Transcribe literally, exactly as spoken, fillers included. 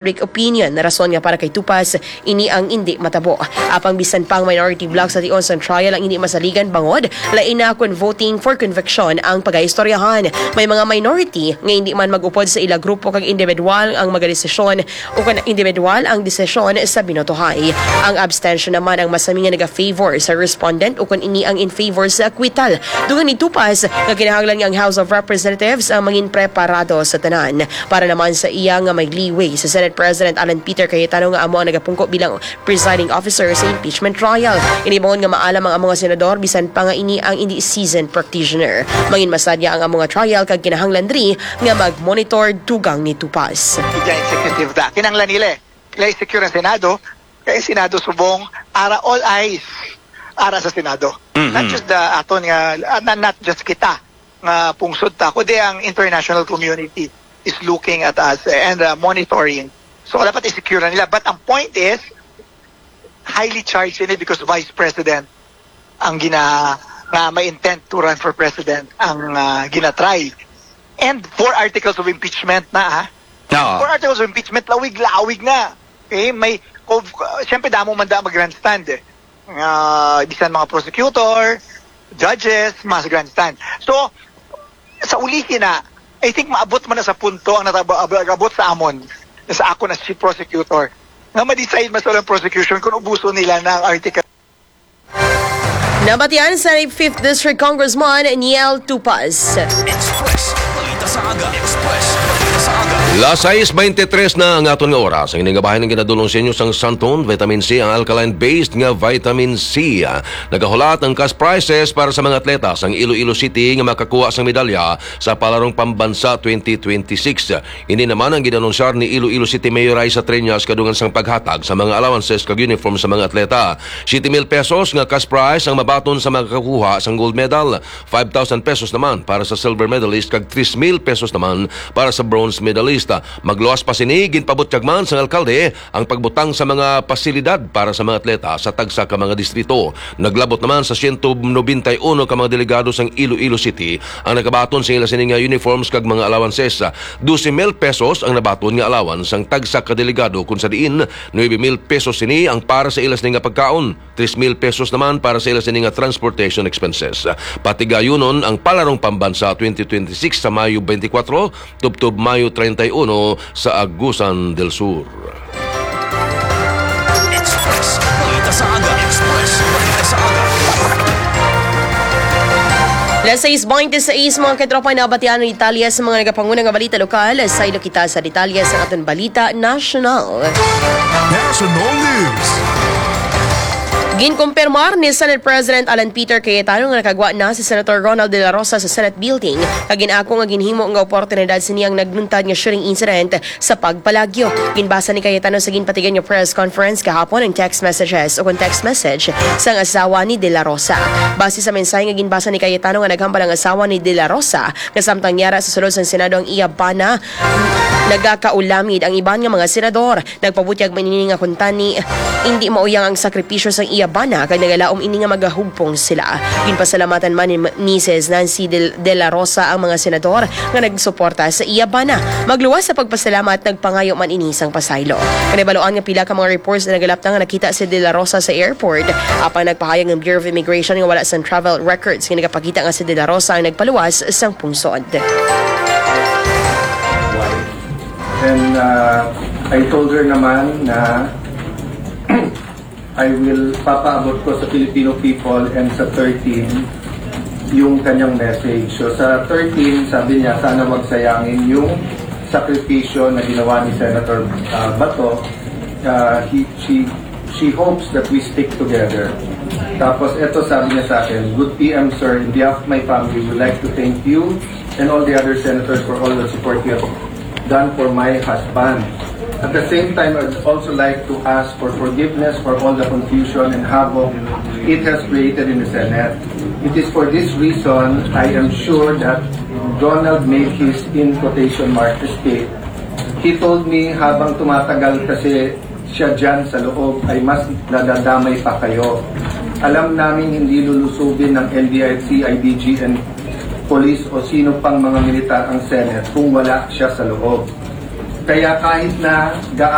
public opinion na rason nga para kay Tupas ini ang indi matabo. Apang bisan pa ang minority bloc sa tion sang trial ang indi masaligan bangod lain na kon voting for conviction ang pagaistoryahan. May mga minority nga indi man mag-upod sa ila grupo kag individual ang magadesisyon o kon individual ang desisyon sa binotohay. Ang abstention naman ang masami nga naga-favor sa respondent o kon ini ang in favor sa acquittal. Dugang ni Tupas nga kinahanglan nga ang House of Representatives ang mangin preparado sa tanan. Para naman sa iya nga may leeway sa Senate President Alan Peter Cayetano nga amo ang nagapungko bilang presiding officer sa impeachment trial. Ini bangod nga maalam ang amo nga senador bisan pa nga ini ang indi seasoned practitioner. Mangin masadya ang amo nga trial kag kinahanglan diri nga mag-monitor dugang ni Tupas. Ija executive da. Kinahanglan nila eh. Nila i-secure ang Senado. Kaya ang Senado subong, ara all eyes, ara sa Senado. Mhm. Not just the aton nga, ah, na- not just kita nga pungsod ta, kundi ang international community is looking at us and, uh, monitoring. So, dapat i-secure na nila. But ang point is, highly charged ini because Vice President ang gina-, nga may intent to run for president ang, ah, gina-try. And four articles of impeachment na, ha? Oo. Four articles of impeachment, lawig-lawig na. Okay? May, of, uh, siyempre, damo man da mag-grandstand eh. Ah, bisan mga prosecutor, judges, mas grandstand. So, sa ulihi na, I think maabot man na sa punto ang nataba-, ab-, abot sa amon, sa ako na si prosecutor, nga ma-decide mas walang prosecution kung ubuso nila na ang article. Nabatian sa fifth District Congressman Niel Tupas. Express. Balita sa aga. Express. Balita sa aga. Las sais beintitres na ang aton nga oras. Ang ining bahin ang ginadulong sa inyo sang Santon, vitamin C, ang alkaline-based nga vitamin C. Nagahulat ang cash prizes para sa mga atleta sang Iloilo City nga makakuha sang medalya sa Palarong Pambansa twenty twenty-six. Ini naman ang ginanunsar ni Iloilo City Mayor Raisa Treñas kadungan sang paghatag sa mga allowances kag uniform sa mga atleta. Siyete mil pesos nga cash prize ang mabaton sa mga kakuha sang gold medal. Five thousand pesos naman para sa silver medalist kag tres mil pesos naman para sa bronze medalist. Magluwas pa sini, ginpabutyag man sang alkalde ang pagbutang sa mga pasilidad para sa mga atleta sa tagsa ka mga distrito. Naglabot naman sa siyento nobenta y uno ka mga delegado sang Iloilo City ang nakabaton sa ila sini nga uniforms kag mga allowances. Dose mil pesos ang nabaton nga allowance sang tagsa ka delegado, kun sa diin nuebe mil pesos sini ang para sa ila sini nga pagkaon, tres mil pesos naman para sa ila sini nga transportation expenses. Patigayunon ang Palarong Pambansa twenty twenty-six sa Mayo twenty-four, tubtob Mayo treinta y uno sa Agusan del Sur. Express. Balita sa aga. Express. Balita sa aga. Las sais beintiseis, mga katropa, nabatian ang detalye sa mga nagapanguna nga balita lokal. Saylo kita sa detalye sa aton balita nasyonal. National News. Ginkumpirmar ni Senate President Alan Peter Cayetano nga nakagwa na si Senator Ronald De La Rosa sa Senate Building, kag gin-ako nga ginhimo nga oportunidad sini ang nagluntad nga shooting incident sa pagpalagyo. Ginbasa ni Cayetano sa ginpatigan nga press conference kahapon ang text messages o kon text message sang asawa ni De La Rosa. Base sa mensahe nga ginbasa ni Cayetano nga naghambal ang asawa ni De La Rosa nga samtang yara sa sulod sang Senado ang iya bana, nagakaulamid ang iban nga mga senador. Nagpabutyag man ini nga kuntani indi mauyang ang sakripisyo sang iya bana kag nagalaom ini nga magahugpong sila. Ginpasalamatan man ni Misis Nancy Del-, De La Rosa ang mga senador nga nagsuporta sa iya bana. Magluwas sa pagpasalamat, nagpangayo man ini sang pasaylo. Kanibaluan nga pila ka mga reports na nagalapta nga nakita si De La Rosa sa airport, apang nagpahayag ang Bureau of Immigration nga wala sang travel records nga nagapakita nga si De La Rosa ang nagpaluwas sang pungsod. And uh, I told her naman na I will papaabot ko sa Filipino people and sa thirteen yung kanyang message. So sa thirteen, sabi niya, sana wag sayangin yung sakripisyo na ginawa ni Senator uh, Bato. Uh, he, she, she hopes that we stick together. Tapos eto sabi niya sa akin, "Good P M, sir, in behalf of my family, we would like to thank you and all the other senators for all the support you have done for my husband. At the same time, I'd also like to ask for forgiveness for all the confusion and havoc it has created in the Senate. It is for this reason I am sure that Ronald made his, in quotation mark, escape. He told me habang tumatagal kasi siya dyan sa loob ay mas nadadamay pa kayo. Alam naming hindi lulusubin ng N B I C, I D G, and police o sino pang mga militar ang Senate kung wala siya sa loob. Kaya kahit na gaano